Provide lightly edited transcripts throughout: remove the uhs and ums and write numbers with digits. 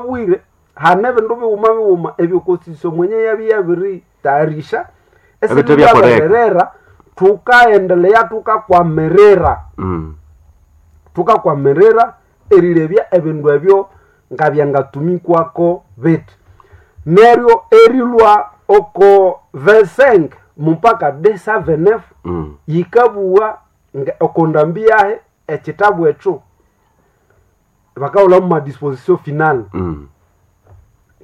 Bwire hane ebindu bighuma bighuma ebyokosisyo mwenye yabya yabiritayarisha Ebithe byakoleka. esibyabererera thukaendelea thukakwamirira thukakwamirira erilebya ebindu ebyo ngabyangatumikwako bithi. Neryo erilwa oko 25 mupaka 279 yikabugha oko ndambi yahe ekitabu ekyo bakahulhamu madisposition final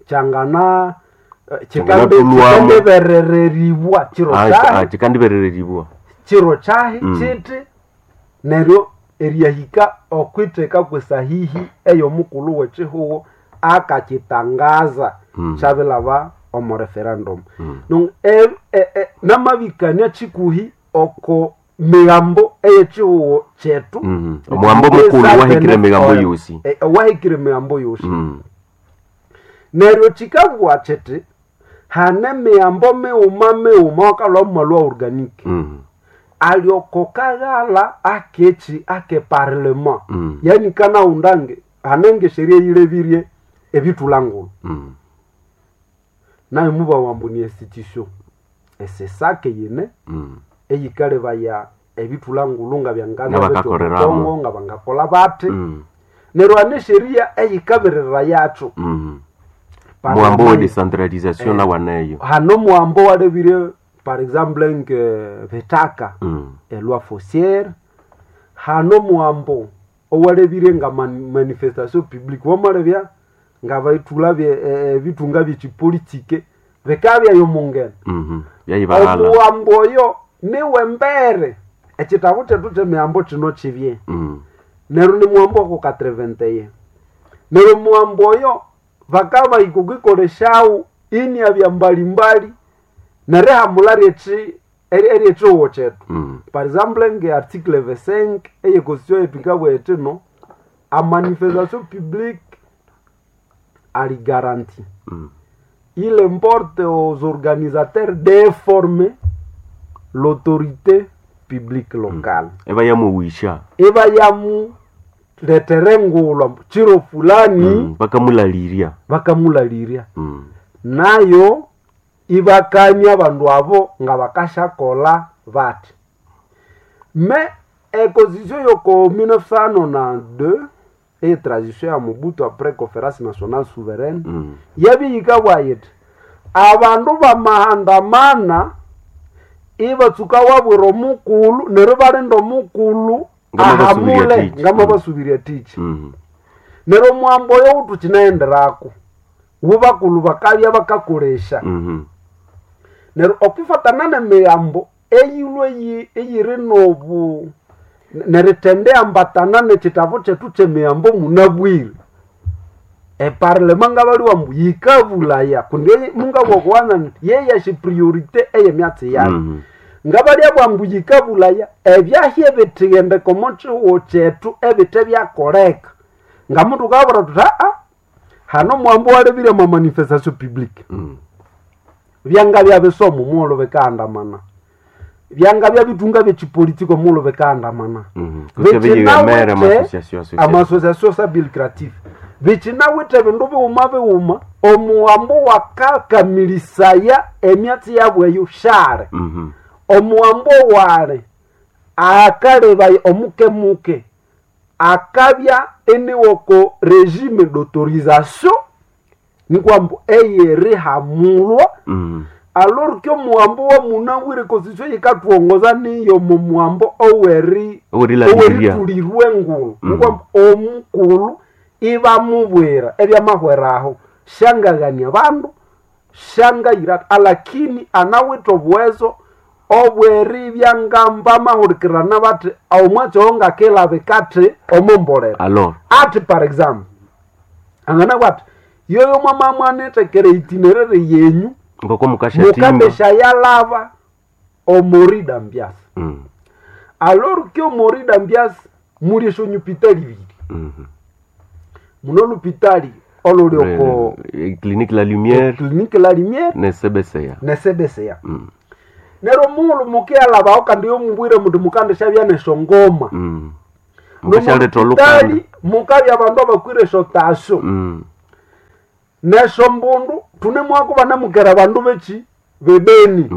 kyangana Kyanganatulhwamu. kyikandiberereribwa kiro kyahi Kyikandiberereribwa. kiro kyahi kiti neryo eryahika okwitheka kwesahihi eyomukulhu wekihugho akakyitangaza kyabilhaba omo referendum. Namabikania kikuhi oko migambo eyekihugho kyethu. Omuhambo mukulhu wahikire emigambo yosi. Wahikire emigambo yosi. Neryo kikabugha kiti hane emigambo mighuma mighuma wakalhwa mwalwa organic ali oko kaghalha akeki ake parlement. Yani kanaghundange hane ngesheria eyilebirye ebithulha-ngulhu. Nayo mubabugha ambu ni institution esesake yine eyikalebaya ebithulha-ngulhu ngabyangabya bithi Ngabakakoleramu. omukongo ngabangakolha bathi. Neryo hane esheria eyikabirira yakyo. Omuhambo we decentralisation nawaneyo. Hane omuhambo owalebire par exemple nge bitaka eloi foncière, hane omuhambo owalebire nga manifestation publique wamalebya ngabaithulha ebithunga byekyipolitike bikabya yomungene. Byayibahala. Omuhambo oyo niwembere ekyitabu kyethu kyemihambo kino kibye. Neryo nimuhambo woko 81. Neryo omuhambo oyo bakabahika okwikolesyawo iniabya mbalimbali nerihamulha ryekyi eryekihugho kyethu. Par exemple nge article 25 eye constitution yethu yikabugha yithi no amanifestation publique ali garantie. Il importe aux organisateurs d'informer l'autorité publique locale. Ibayamuwisha. Ibayamulethera engulhu ambu kiro fulani Bakamulalirya. Bakamulalirya. Nayo ibakania abandu abo ngabakasyakolha bathi. Me econstitution yoko 1992 eye transition ya Mobutu après conférence nationale souveraine yabya yikabugha yithi abandu bamahandamana ibatsuka wabwira omukulhu neryo ibalinda omukulhu Ngamabasubirya ahamule tichi. ngamabasubirya tichi. Neryo omuhambo oyo wuthukinaghenderako wubakulhu bakabya bakakolesya. Neryo okwifatana nemighambo eyilhwe eyiri nobu nerithendiambatana nekyitabu kyethu kyemighambo munabwire, eparlema ngabaliwa ambu yikabulaya kundi mungabugha okuwanza nyithi yeyasi priorité eyemyatsi yayo. Ngabalyabugha ambu yikabulaya ebyahya ebithighendeka omo kihugho kyethu ebithe byakoleka. Ngamuthukabwira thuthi hane omuhambo owalebire omwa manifestation publique. Byangabya bisomo omughulhu bikahandamana. Byangabya bithunga byekyipolitiko omughulhu bikahandamana. Kutse biyighamere Bikinawithe ama-association association. ama-association sans but lucratif. Bikinawithe ebindu bighuma bighuma omuhambo wakakamilisaya emyatsi yabu eyo syali. Omuhambo wali akalebaya omukemuke akabya iniwoko regime d'autorisation nikwambu eyerihamulwa alors que omuhambo wamunabwire constitution yikathuwongoza niyo mumuhambo oweri Owerilalirya. oweritulirwa engulhu nikwambu omukulhu ibamubwira ebyamahweraho syangaghania abandu syangayira alakini anawithe obuwezo obweribya ngamba amahulikirana bathi omwatsi oyo ngakilabika athi omombolera. Alors. Athi par exemple anganabugha athi yoyo mwamamwanithekera itinerary yenyu Ngoko mukasyathimba. mukandeshayalaba omori dambias. Alors que omori dambias muli esyonyupitali ibiri. Muno olupitali oluli oko Clinique La Lumière Clinique La Lumière ne CBCA. ne CBCA. Neryo omughulhu mukiyalhabaho kandi yomubwire muthi mukandisyabya nesyongoma. Mukasyaletha olukanda. Nomolupitali mukabya abandu abakwire esyotasyo. Nesyo mbundu tunemwako banamukera bandu beki bebeni.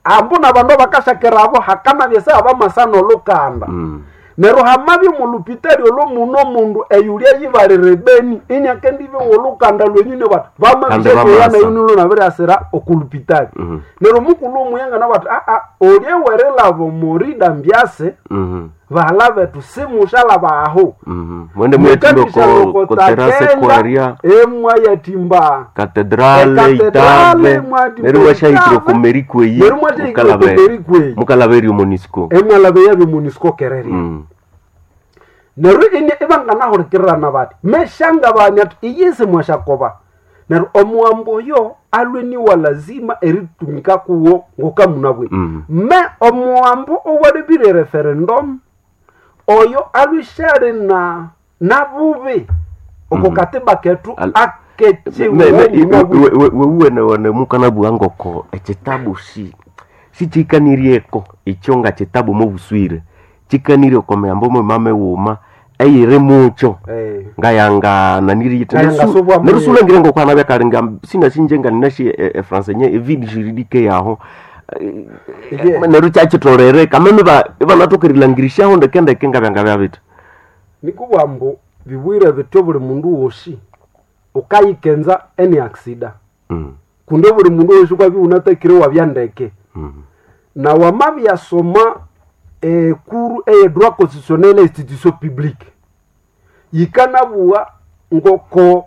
Ambu nabandu abakashakera abo hakanabya abamasana olukanda. Neryo hamabya omolupitali olwo muno omundu eyulya yibalira ebeni iniakendibe wolukanda lwenyine bati Kandi bamasa. vamabiyanayo nabiriasira okulupitali. Neryo mukulu omuyangana bati aa olye werilaba omorida mbyase bahala betu simushalaba aho. Mwende mwetimbe ko terase kwaria. Emwayatimba. Katedrale. Ekatedrale, Itave. mwatimba Neryo mwashahikire Itave. okomerikweyi. Neryo mwashahikire okomerikweyi. Mukalaberi omonisco. Emwalaba yabyo munisco kereria. Neryo ine ibanganahurikirirana bati meshangabani ati iyisi mwashakoba neryo omuwambo oyo alwe niwa lazima eritumika kuwo ngokamunabwire. Me omuwambo owalibire referendum oyo alwishali na nabubi oko katiba ketu akechimunabwire. Wewuwene mukanabugha ngoko ekitabu si sikikanirieko ekyo nga kitabu mobuswire kikanire oko miyambo mwemame wuma eyiri mukyo ngayanga Ngayanga subwa mu- naniriyiterusula ngoko anabyakalinga sinasinje nga ninashi efransa nye evide juridike yaho. Neryo kyakitolere kameme ibanathokerilhangirisyaho ndekendeke ngabyanga byabita. Nikubwa mbu bibwire bityo buli mundu wosi ukayikenza eni aksida kundi buli mundu wosi kwabya unatakire wabya ndeke. Na wamabyasoma ekuru eye droit constitutionnel e institution publique yikanabuwa ngoko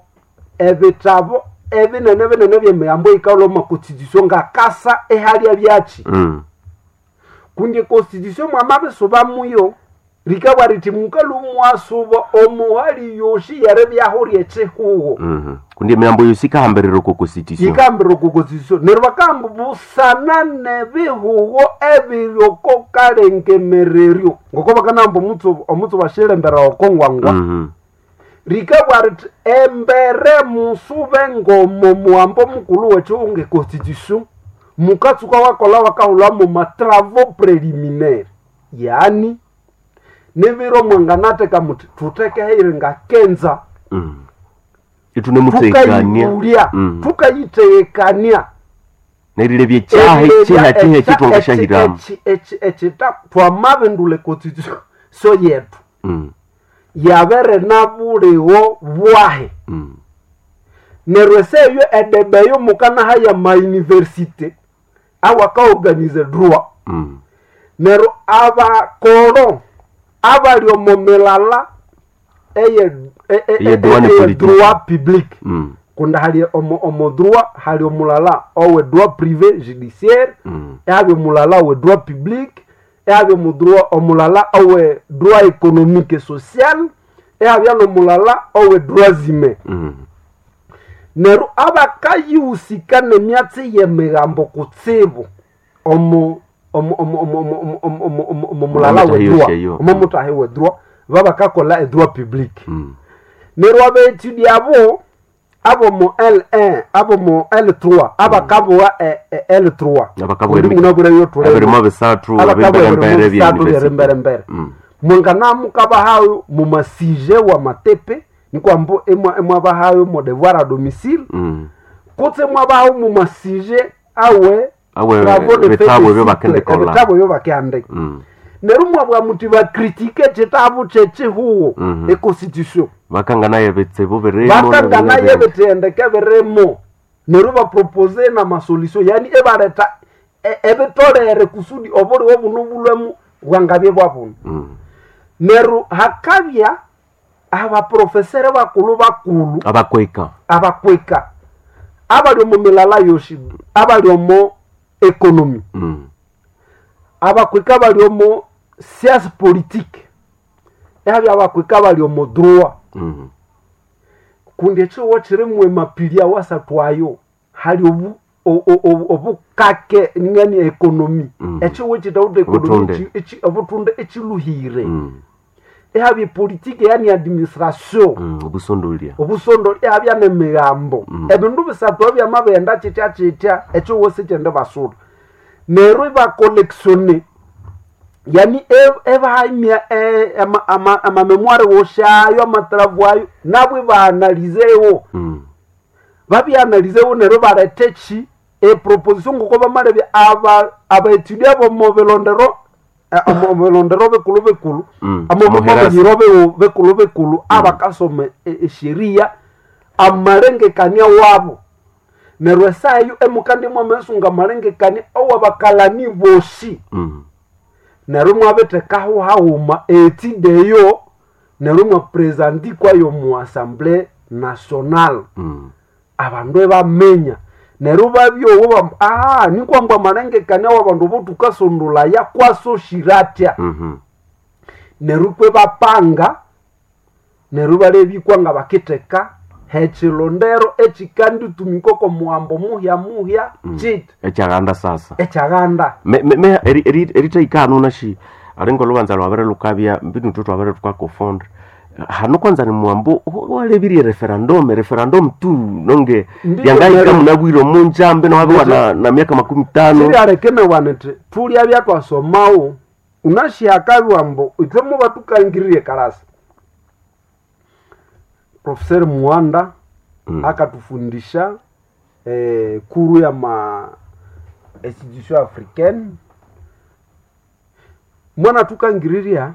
ebitabo ebinene binene byemiyambo yikalwa omu constitution ngakasa ehalya byaki. Kundi constitution mwamabisuba muyo rikabwa riti mukalu mwasuba omuhali yoshi yeribyaho ryekihuho. Kundi emiyambo yosi ikahambirira oko constitution. Yikambira oko constitution neryo bakamba busana nebihuho ebiri oko kalengemereryo ngoko bakanamba omutsu bashilembera oko ngwangwa. Rikabwa riti embere musube ngomo muhambo mukulu wekihu nge constitution mukatsuka wakola wakahulamo matravaux préliminaire yaani nibiro mwanganateka muti thutekeheire ngakenza. Itunemutekania. Tukayibulya tukayitekania. Nerilebya ekyaha ekiha kiha ekitwangashahiramu. Ekita twamabindula econstitution so yetu yabere nabuliwo bwahe. Neryo eseyo edebeyo mukanaha mauniversite awakaorganize droit. Neryo abakoro abali omo milala eye Eye droit ne eye politique. droit public kundi hali omo droit hali omulala owe droit privé judiciaire ehabya omulala owe droit public ehabya omudroit omulala owe droit économique et social ehabya nomulala owe droit humain. Neryo abakayihusika nemyatsi yemigambo kutsibu omo omo omo omo omo omo omo omo omo omo mulala Omo we mutahi droit yosheyo. omo mutahi we droit babakakola edroit public. Neryo abaetudi abo abomo L1 abomo L3 abakabowa L3 Abakabowa Kundi munabwire yo ebirimo bisathu abakabowa ebimberembere ebirimo bisathu bya byeremberembere mwanganamukabahayo mumasije wa matepe nikwambo emwabahayo mo devoir à domicile kutse mwabahayo mumasije awe Awe, travaux de ebitabu fin de ebyo cycle, bakendikolha. ebitabu ebyo bakehandika. Neryo mwabwa muti bakritike ekitabu kyekihuho econstitution. Bakanganayo ebitsibu birimo Bakanganayo ebithendeke birimo neryo bapropose namasolution yani ebaletha ebitolere kusudi obuliwo buno bulwemu bwangabye bwabuno. Neryo hakabya abaprofesere bakulu bakulu abakweka abakweka abali omu milala yoshi abali omo economy abakweka bali omo science politique ehabya abakweka bali omo droit. Kundi ekihuho kirimu emapili awasathu ayo hali obu obukake ngani ekonomi ekihuho kitawutha ekonomi Obutunde. obutunde ekiluhire ehabya epolitike yani administration obusondolya obusondo ehabya nemigambo ebindu bisathu ebyamabenda kitya kitya ekihuho sikyende basula neryo ibakolektione yani ebahamya amamemoire woshayo amatravu ayo nabo ibaanalizewo. Babyanalizewo neryo bareta eki eproposition ngoko bamalebya abaetudia bomo bilondero omo bilondero bikulu bikulu, Omuherasi. amomobanyiro bikulu bikulu abakasoma esheria amalengekania wabo. Neryo esaa eyo emukandi mwamesunga amalengekania owabakalani bosi. Neryo mwabithekaho haghuma etide eyo, neryo mwapresandikwayo mu assemblée nationale. Abandu ebaminya neryo babyowo bamba ah nikwamba amalengekania wabandu botukasondolaya kwasoshira atya. Neryo kwe bapanga neryo balebikwa nga bakitheka hekilondero ekikanditumika oko muhambo muhya muhya kiti Ekyaganda sasa. Ekyaganda. Me eritaika nashi alinga olubanza lwabere lukabya mbinu tu twabere tukakufunda hano kwanza ni mwambo walebirie referendum tu nonge Ndiyo, yangaika nero- munabwire omunjambe nowabiwa na miaka 50. Sirialekenewa nti tulya byatwasomawo unashihakabiwa mbu ithwe muba tukangiririe kalasi Professor Muanda akatufundisha kuru ya ma institution africaine mwana tukangiriria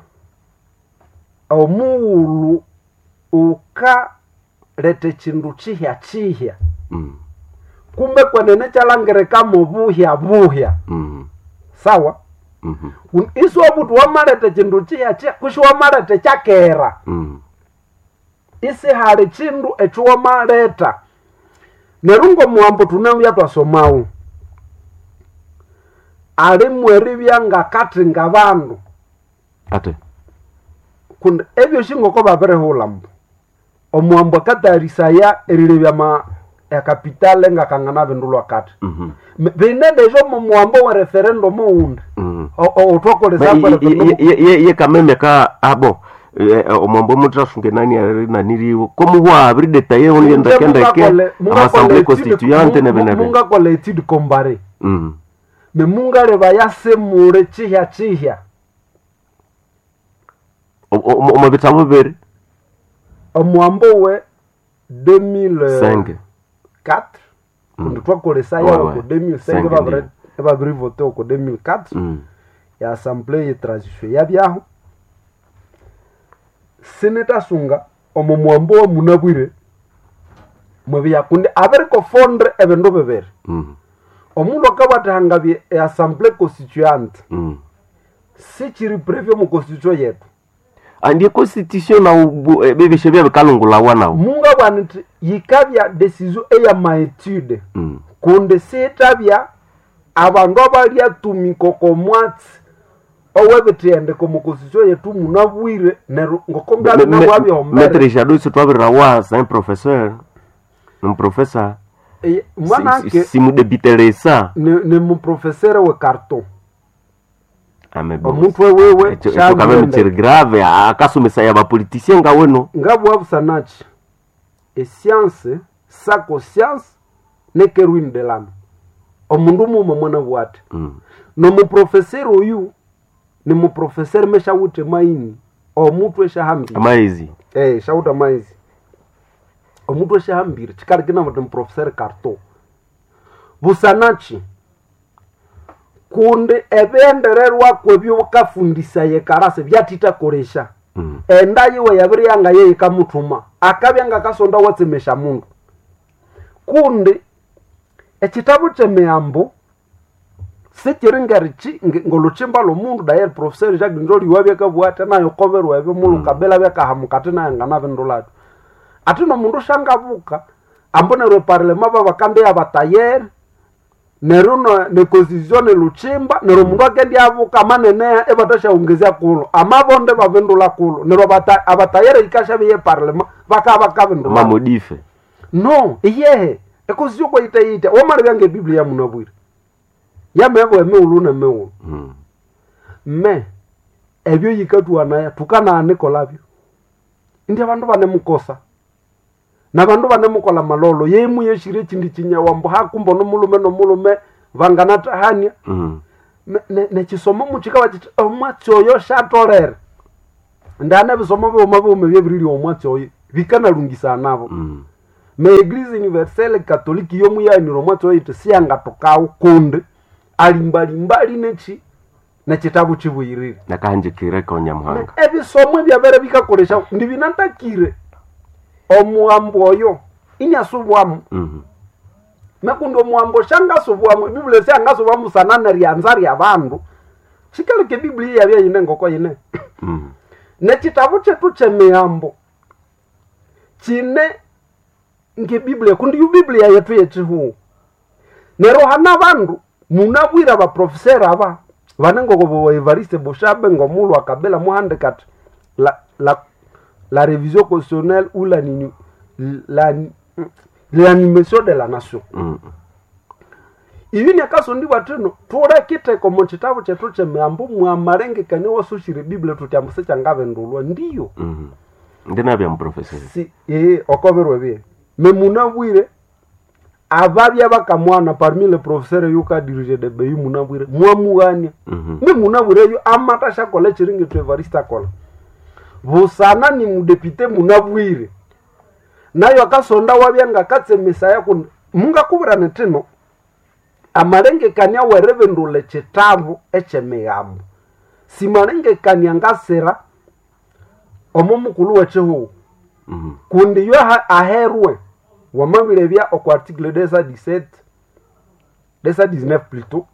omughulhu ukaleta ekindu kihya kihya kumbe kwenene kyalangirikamo buhya buhya. Sawa. Isiwabuthi wamaleta ekindu kihya kihya kusi wamaleta ekyakera. Isihali kindu ekyo wamaleta. Neryo ngomuhambo tunabya twasomawo alimu eribya ngakathinga bandu Ate kundi ebyosi ngoko babirihulha mbu omuhambo akatayarisaya erilebya ma ekapitale ngakangana bindulwa kati. Bine deja omu muhambo we referendum owundi otwakolesa referendum. Ye kameme ka abo omwambo mutrasunge nani naniriwo komuhwa abiridetaye onendekendeke amassemblée constituante nebenebe. Mungakola etude comparée me mungaleba yasemule kihya kihya. Omu bitabo bibiri. Omuhambo we 2004 5 kundi twakolesaya Ouais, oko ouais. 2005. Cinq, Ebabirivote oko 2004 ya assemblée ye transition yabyaho sinitasunga omo muhambo wa munabwire mwebya kundi abirikofondre ebindu bibiri. Omundu akabwathihangabye eassemblée constituante sikiri previe omu constitution yetu. Andie constitution nawo bibishe byabikalungulawa nawo. Mungabwana nti yikabya decision eya maetude kundi sitabya abandu abalyatumika oko mwatsi owebithendeko omu constitution yetu munabwire neryo ngoko ngabinabwabyombere. Maître Jadot twabirirawa c'est un professeur, un professeur. Mwanake Simudebiteresa. ni muprofesere we carton. Ame Omuntu wewewe ekyo kameme kiri grave akasomesa ya bapoliticien nga weno. Ngabwabusanachi escience sako science nekerwin de lame omundu muma mwana bwate. Nomuprofesere oyu ni muprofesere meshawuthe maini omutu eshahambire. Amaizi. Eh, shawutha maizi omutu eshahambire chikalikina muti muprofesere carton busanachi kundi ebyendererwako ebyokafundisa karase byatitakolesha. Enda yiwe yabiri yanga yeyikamuthuma akabya ngakasonda watsemesha mundu kundi ekitabu kyemiyambo sikiri ngerichi ngolhuchimba lwomundu daye professor Jacques Ndoli wabyakabugha ati nayo koberwa ebyo mulukabela byakahamuka ati nayo nganabindulabyo ati nomundu shangabuka ambu neryo eparlema babakandi yabatayere neryo neconstitution neluchimba neryo omundu akendyabuka amaneneya ebatashaongezya kulo amabonde babindula kulo neryo abatayere yikashabe yeparlema bakaba bakabindula. Mamodife. No iyehe econstitution kwayitayita wamalebya ngebiblia munabwire yamebwa emighulhu nemighulhu. Me ebyo yikatwanaya tukananikolabyo indi abandu banemukosa nabandu banemukola malolo yemu yeshire echindi chinyawambo hakumbo nomulume nomulume vanganatahania. Nechisomo muchikaba chiti omwatsi oyo shatolere ndana ebisomo bighuma bighuma byebiriri omwatsi oyo bikanalungisana nabo. Me Eglise Universelle Catholique yomuyanira omwatsi oyiti siyangatokawo kundi alimbalimbali nechi nekitabu kibuyirire. Nakahanjikire ko Nyamuhanga. Ebisomo ebyabere bikakolesha ndibinatakire omuhambo oyo inyasubwamu. Mekundi omuhambo shangasubwamu, ebiblia syangasubwamu sana neryanza rya bandu. Shikaleke Biblia yabya yine ngoko yine. Nekitabu kyetu kyemihambo kine ngebiblia, kundi yu Biblia yetu yekihugu. Neryo hana bandu munabwire abaprofesera aba vane ngoko bo Evariste Boshabe ngomulhu akabela muhandika ati la révision constitutionnelle ou la nini, la l'animation de la nation. Ibi nyakasondibwa thino tulekitheka omu kitabu kyethu kyemihambo mwamalengekania wasushire Biblia tuti ambu sikyangabindulwa ndiyo. Ndinabya muprofesora. Si okobirwe bye memunabwire ababya bakamwana parmi le professeur yuka dirige de beyi munabwire mwamughania. Memunabwire yo amata syakolha ekiringethu Evariste akolha busana ni mudepite munabwire nayo akasonda wabya ngakatsemisaya kundi mungakubwira nithino amalengekania weribindulha ekitabu ekyemigambo simalengekania ngasira omo mukulhu wekihugho. Kundi yo aherwe wamabilebya okwa article 217, 219 plutôt,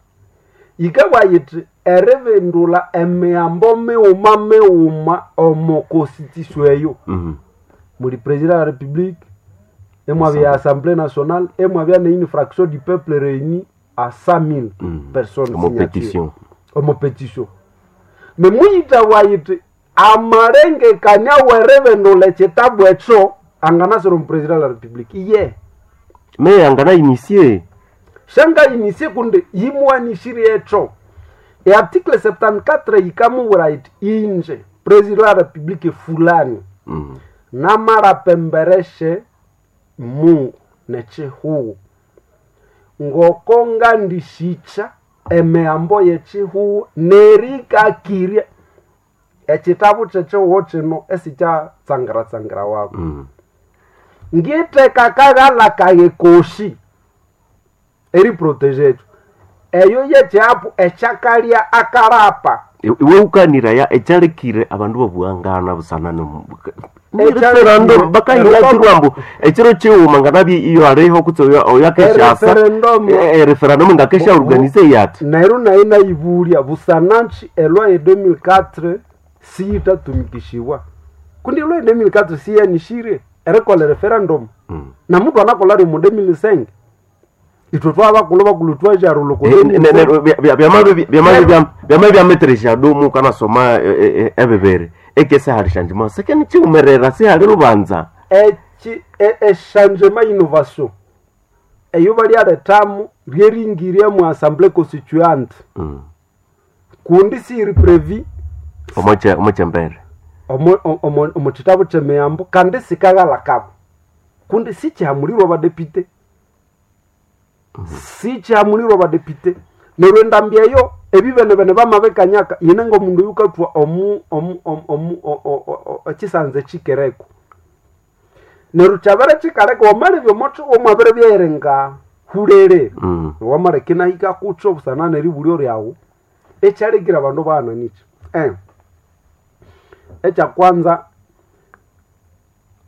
yikabwa yithi eribindulha emihambo mighuma mighuma omo constitution eyo. Muli president de la république, emwabya assemblée nationale, emwabya ne une fraction du peuple réunie à 100 000 personnes omo signatures. Pétition. Omo pétition me muyita yithi amalengekania weribindulha ekitabu ekyo anganasira omu president de la république iye. Me angana initie. Shanga inisie kundi yimuwanishire ekyo earticle 74 yikamubwira yiti inje president de la république fulani namarapembereshe Mungu nechihugu ngoko ngandishikya emihambo yechihugu nerikakirya ekitabu kyechihugo kino esikyatsangiratsangira wako. Ngitheka kaghala kaye koshi eriprotege ekyo eyo yekyapu ekyakalya akarapa. Iwe ukaniraya ekyalekire abandu babuhangana busana Ekyalekire- referendum bakahilakirwa mbu ekiro kighuma nganabye iyo aliho kutse oyo akeshasa. Ereferendum. Referendum ngakesha organize yati. Neryo nayi nayibulya busananchi elwa ye 2004 siyitatumikishiwa kundi elwa ye 2004 siyanishire erikolha referendum. Na mutu anakolha rimo 2005 ithwe twabakulu bakulu twajarula ko 2005. Byama byameteresha dumu kanasoma ebibere ekese hali shanjima sekeni chiumerera sihali lubanza. Eki echangement innovation eyo balyaletamu ryeringirya mu assemblée constituante. Kundi siri previ. Omochembere. Omo kitabu kyemiyambo kandi sikaghala kabo kundi sikyihamulirwe abadepite, sikyihamulirwe abadepite. Neryo endambi eyo ebibenebene bamabikanyaka yine ngomundu oyukathwa omu omu omu omu ekisanza ekikereko. Neryo kyabere kikaleka wamalebya omothi omwabere byerenga hulere. Wamaleka inahika kutyo busana neribulyo lyawu ekyalekire abandu baghana ekyakwanza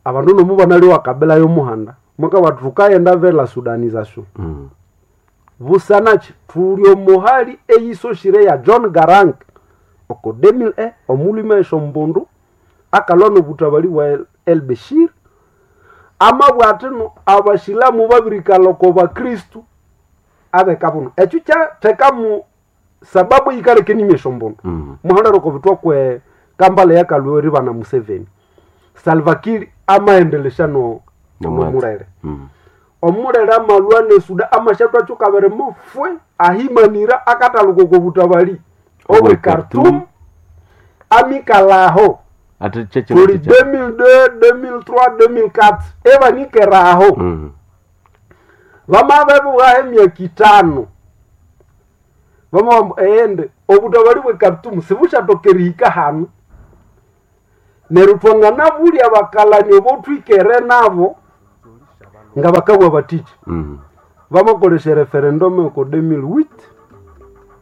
abandu nomu banalyowa kabila yomuhanda mwakabati thukayenda vers la sudanisation. Busanaki thuli omuhali eyisoshire ya John Garang oko 2001 omulhume esyombundu akalwa nobutabali bwa El Bashir amabwa athino abashilamu babirikalha oko bakristu abeka buno ekyo kyathekamu sababu yikaleka enimi esyombundu. Muhalere oko bithwa kwe Kampala yakalwa eribana Museveni, Salva Kiir amaendelesya no Nomwatsi. nomulere. Omulere amalwa nesuda amashathu akyukabiri mufwe ahimanira akatalhuka oko butabali obwe Obwe Khartoum. Khartoum. Amikalaho ati cheche. tuli 2002, 2003, 2004 ebanikeraho. Bamabebuha emyaka 5 bamabamba ende obutabali bwe Khartoum sibusyatoka erihika hanu. Neryo twanganabulya abakalani obothwikere nabo. Nga bakabwa batiki bamakolesha referendum oko 2008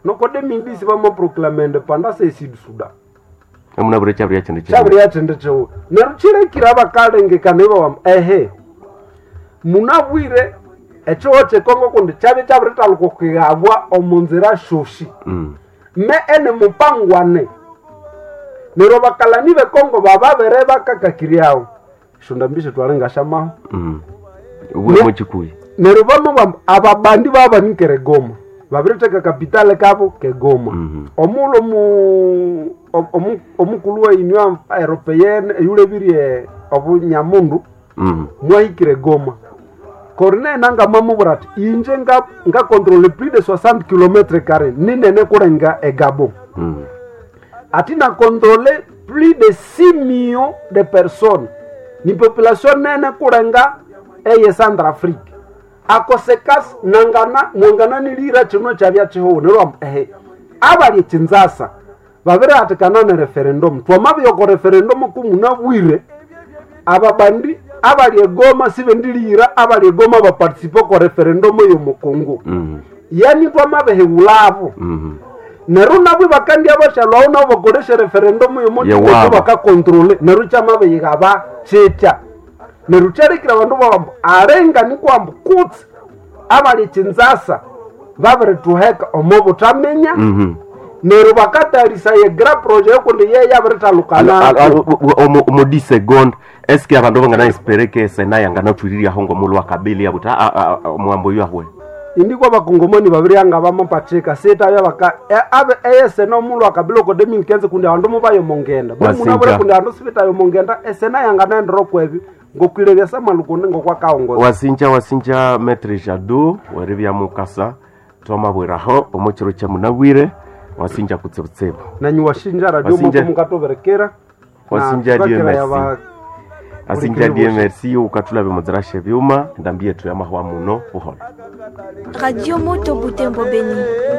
noko 2010 bamaproclama independence e Sud Sudan. Amunabwire kyabirya kyindi Kyabirya kyindi kiwu neryo kirekire abakalengekana ibawamba ehe munabwire ekiho kyekongo kundi kyabya kyabirithaluka okwihabwa omu nzira syosi. Me ene mupangwane neryo abakalani bekongo bababere bakakakiryawo esyondambi sitwalingasyamaho. Bwe mukikuyi. Neryo bamubamba ababandi babanikere Goma babiritheka kapitale kabo kegoma. Omughulhu omukulhu wa Union Européenne eyulebirye obunyamundu mwahikire Goma. Corneille Nangaa mwamubwira ati inje ngakontrole plus de 60 km carré ninene kulenga egabo. Ati nakontrole plus de 6 millions de personnes ni population nene kulenga eye Centrafrique akosekasi nangana mwangana nilira chino chabya chihuhu neryo ehe abali chinzasa babirihatikana ne referendum twamabiyoko referendum kumunabwire ababandi abali egoma sibendilira abali egoma baparticipe ko referendum yomukongo. Yani twamabihewulabo. Neryo nabwo bakandi abashalwawo nabo bakolesha referendum yomukongo Yewabo. Bakakontrole neryo kyamabiyigaba kyitya neryo kyalekire abandu babambu alenga nikwambu kutsi abali chinzasa babirituheka omo butaminya. Neryo bakatayarisaye grand projet yokundi ye yabirithalukanako. Omu 10 seconde eske abandu banganaespere ke sena yanganathwiriryaho ngomulhu wakabili abuti omuhambo oyu ahwe? Indikwa abakongomani babiryanga bamapachika sitabya baka abe eyesena omulhu akabila oko 2015 kundi abandu mubayomongenda Wasinja. buli kundi abandu sibitayomongenda esena yanganaendera okwebyo ngokwilebya samalukundi ngokwakaongoza. Wasinja wasinja maître Jado weribya mukasa twamabwiraho omu kiro kya munabwire wasinja kutsibutsibu. Nanyu washinja radio Wasinja. moko mukatoberekera. Wasinja na Dieu tukakira merci. Asinja Bulikiri Dieu bwosi. merci ukathulabya omudzirasha ebyuma endambi yethu yamahwa muno buholo. Radio Moto Butembo Beni.